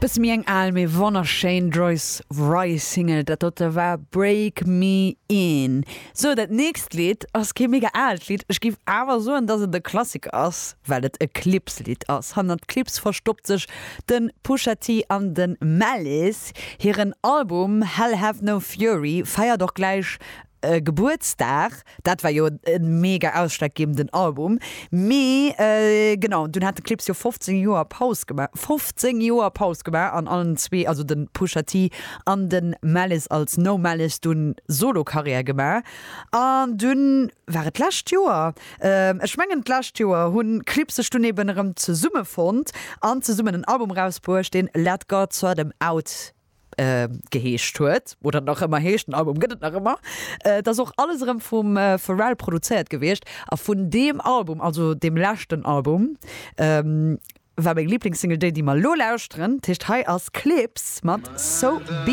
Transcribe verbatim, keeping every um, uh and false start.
Bësse méi eng al, mee wonnerschéin Joyce Wrice Single, dat dote war Break Me In. Sou, dat nächst Lidd ass kee mega aalt Lidd, ech géif awer soen, dass et e Klassiker ass, well et e Clipse-Lidd ass. Hannert Clipse verstoppt sech de Pusha T an de Malice. Hiren Album Hell Hath No Fury feiert och gläich Gebuertsdag. Dat war jo e mega ausschlaggebenden Album. Mee genau, dunn hat de Clipse jo fofzéng Joer Paus gemaach, fofzéng Joer Paus gemaach an allen zwee, also de Pusha T an de Malice als No Malice dunn Solo-Karriär gemaach. An dunn war et d'lescht Joer, ech mengen d'lescht Joer, hunn Clipse sech dunn eben erëm zesummefonnt an zesummen en Album erausbruecht, deen Let God Sort 'Em Out geheescht huet, oder nach ëmmer heescht, den Album gëtt et nach ëmmer. Et ass och alles erëm vum Pharrell produzéiert gewiescht a vun deem Album, also deem leschten Album, war meng Liblingssingle déi, déi mer elo lauschteren. Dat heescht, hei ass Clipse mat So Be.